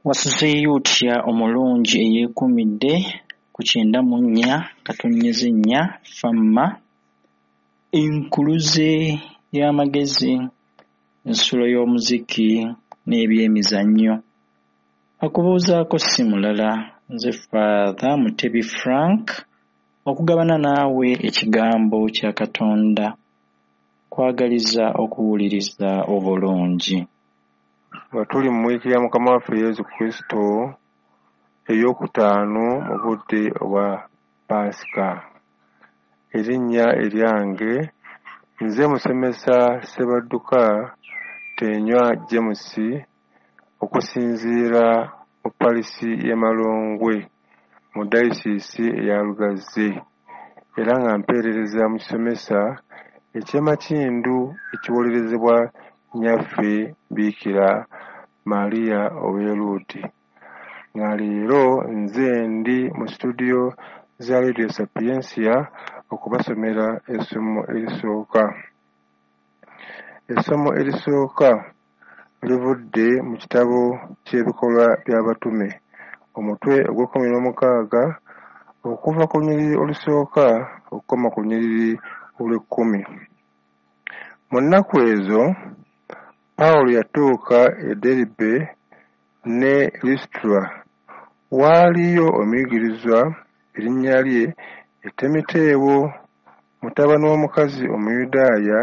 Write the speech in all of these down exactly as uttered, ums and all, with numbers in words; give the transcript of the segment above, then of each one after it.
Wasuzeeyo otya omulungi eyeekuumidde ku kyenda mu nnya katonnyeze nnya FMA, enkuluze y'amagezi, nsulo y'omuziki n'ebyemizannyo. Akubuuzaako si mulala nze Father Mutebi Frank okugabana naawe ekigambo kya Katonda. Nkwagaliza okuwuliriza obulungi. Nga tuli mu wiiki ya Mukama waffe Yesu Kristo ey'okutaano mu budde obwa Paasika. Erinnya eryange nze musomesa Ssebadduka Tenywa James okusinziira mu parish y'e Malongwe mu dayosiisi eya Lugazi era nga mpeerereza mu kisomesa eky'e Makindu ekiwolerezebwa Nnyaffe Biikira Maria ow'e Lourdes. Nga leero nze ndi mu situdiyo za Radio Sapientia okubasomera essomo erisooka. Essomo erisooka livudde mu kitabo ky'Ebikolwa by'Abatume, omutwe ogw'ekkumi n'omukaaga okuva ku lunyiriri olusooka okukoma ku lunyiriri olw'ekkumi. Mu nnaku ezo, Pawulo yatuuka e Derbe ne Lusitula. Waaliyo omuyigirizwa erinnya lye ye Timoteewo, mutabani w'omukazi Omuyudaaya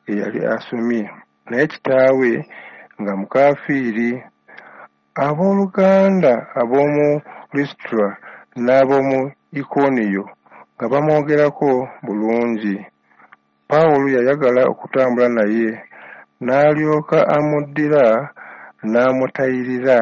eyali asomye, naye kitaawe nga mukaafiiri. Abooluganda ab'omu Lusitula n'ab'omu Ikoniyo nga bamwogerako bulungi. Pawulo yayagala okutambula naye, n'alyoka amuddira n'amutayirira